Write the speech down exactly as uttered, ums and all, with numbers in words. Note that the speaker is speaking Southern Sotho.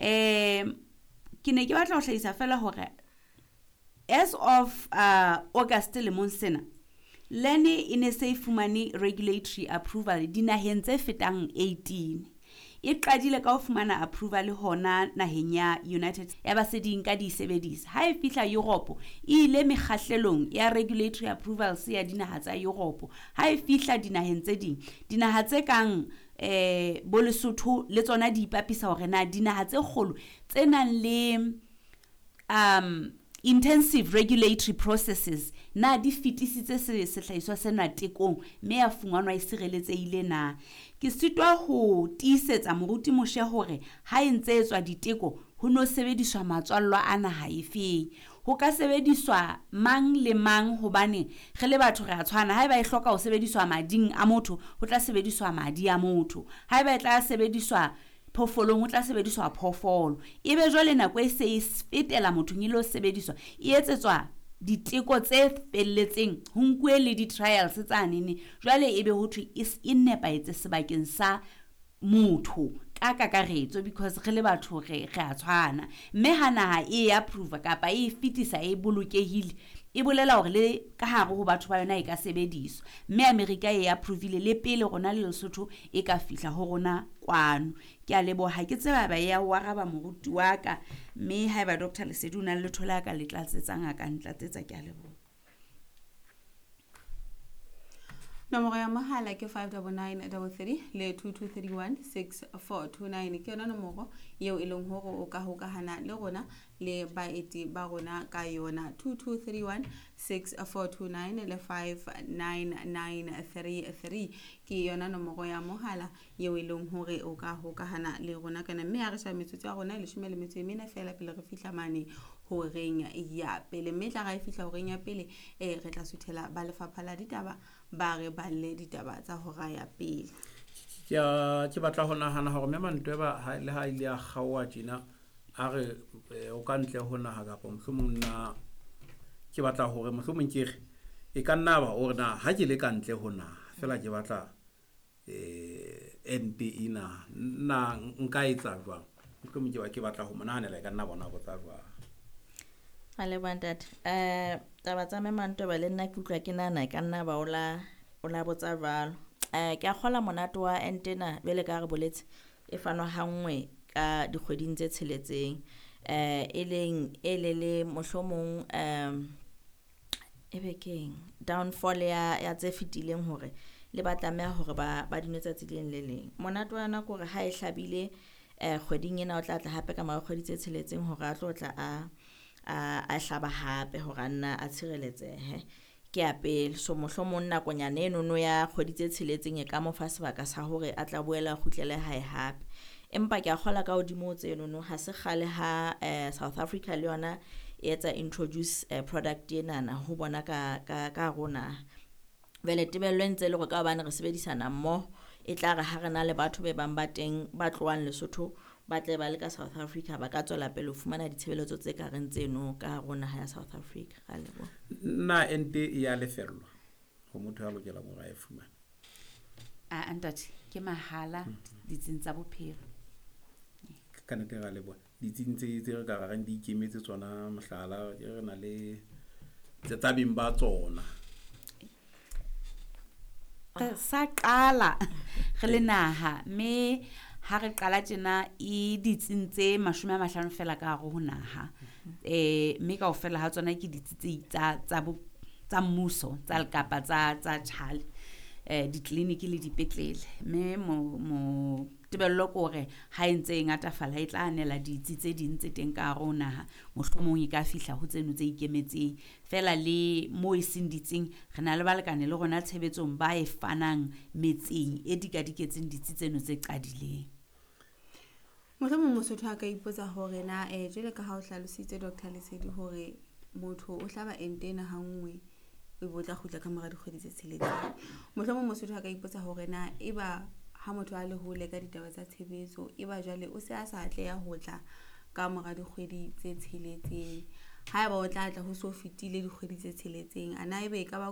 Um ke ne ke batla ho hlahisa fela hore as of uh, August lemong sena, lene e ne se e fumane regulatory approval dinaheng tse fetang eighteen. E qadile ka ho fumana approval hona naheng ya United, ya ba se di nka di e sebedisa. Ha e fihla Europe, e ile mekgahlelong ya regulatory approvals ya dinaha tsa Europe. Ha e fihla dinaheng tse ding, dinaha tse kang eh bo Lesotho le tsona di ipapisa hore na dinaha tse kgolo tse nang le um intensive regulatory processes na di fetisitse se sehlahiswa sena tekong mme ya fumanwa e sireletsehile na. Ke sitwa ho tiisetsa moruti Moshe hore ha e ntse etswa diteko ho no sebediswa matswallwa a naha efeng. Ho ka sebediswa mang le mang hobane re le batho re a tshwana. Haeba e hloka ho sebediswa mading a motho, ho tla sebediswa madi a motho. Haeba e tla sebediswa phoofolong, ho tla sebediswa phoofolo. Ebe jwale nako e se e fetela mothong e lo sebediswa, e etsetswa diteko tse felletseng, ho nkuwe le di-trials tsanene. Jwale ebe ho thwe e e nepahetse sebakeng sa motho ka kakaretso, because re le batho re re a tshwana. Mme ha naha e approve kapa e fetisa e bolokehile, e bolela hore le ka hare ho batho ba yona e ka sebediswa. Mme America e approvile le pele rona le Lesotho e ka fihla ho rona kwano. Ke a leboha, ke tseba ba ya o araba moruti wa ka, mme haeba Doctor Lesedi o na le letho le a ka le tlatsetsang, a ka ntlatsetsa. Ke a leboha. Nomoro ya mohala ke five double nine double three le two two three one six four two nine. Ke yona nomoro eo e leng hore o ka hokahana le rona le baeti ba rona ka yona. two two three one six four two nine le five nine nine three three ke yona nomoro ya mohala eo e leng hore o ka hokahana le rona ka yona. Mme ha re sheba metsotso ya rona e leshome le metso e mene feela pele re fihla mane horeng ya pele. Mme tla ra e fihla horeng ya pele, eh, re tla suthela ba lefapha la ditaba ba re balle ditaba tsa hora ya pele. Ke a, ke batla ho nahana hore mme Mantweba ha le ha ile a kgaoha tjena, a re, eh, o ka ntle ho naha kapa mohlomong nna ke batla hore mohlomong ke re e ka nna ba o re na ha ke le ka ntle ho naha feela ke batla, eh, ente ena, nna nka etsa jwang? Mohlomong ke ba ke batla ho mo nahanela, e ka nna bona botsa jwang. A leboha ntate. Eh, taba tsa mme Mantweba le nna ke utlwa ke nahana e ka nna ba o la, o la botsa jwalo. Eh, ke a kgola monate wa ente ena jwale ka ha re boletse e fanwa ha nngwe ka dikgweding tse tsheletseng. Eh, e leng e le le mohlomong, um, e be keng downfall ya, ya tse fetileng hore le ba tlameha hore ba, ba di nwe tsatsi le leng le leng. Monate wa yona ke hore ha e hlabile, eh, kgweding ena o tla tla hape ka mora kgwedi tse tsheletseng hore a tlo tla a, a, a hlaba hape hore a nna a tshireletsehe. Ke ya pele. So mohlomong nakonyana enono ya kgwedi tse tsheletseng e ka mo fa sebaka sa hore a tla boela a kgutlele hae hape. Empa ke a kgola ka hodimo ho tsenono, ha se kgale ha, eh, South Africa le yona e etsa introduce, eh, product enana ho bona ka, ka, ka rona. Jwale tebello e ntse e le hore ka hobane re sebedisana mmoho, e tla re ha re na le batho be bang ba teng ba tlohang Lesotho ba tle ba le ka South Africa, ba ka tswela pele ho fumana ditshebeletso tse ka reng tseno ka hare ho naha ya South Africa. Ra leboha. Na ente e ya lefellwa ho motho ya lokelang hore a e fumane? A, ntate, ke mahala ditsing tsa bophelo. Ka nnete ra leboha. Ditsing tse, tse re ka reng di ikemetse tsona, mohlala, ke re na le tse tsa beng ba tsona. Re sa qala re le naha, mme ha re qala tjena e ditsing tse mashome a mahlano feela ka hare ho naha. Eh, mme kaofela ha tsona ke ditsi tse tsa, tsa bo, tsa mmuso, tsa kapa tsa, tsa tjhale, eh, ditleliniki le dipetlele. Mme mo, mo tebello ke hore ha e ntse e ngatafala e tla anela ditsi tse ding tse teng ka hare ho naha, mohlomong e ka fihla ho tseno tse ikemetseng. Feela le mo e seng ditsing, re na le balekane le rona tshebetsong ba e fanang metseng e dikadiketseng ditsi tseno tse qadileng. Mohlomong Mosotho a ka ipotsa hore na, eh, jwale ka ha o hlalositse Doctor Lesedi hore motho o hlaba ente ena ha nngwe, o be o tla kgutla ka mora dikgwedi tse tsheletseng. Mohlomong Mosotho a ka ipotsa hore na eba ha motho a le hole ka ditaba tsa tshebetso, eba jwale o se a sa atleha ho tla ka mora dikgwedi tse tsheletseng. Haeba o tla tla ho so fetile dikgwedi tse tsheletseng, a na ebe e ka ba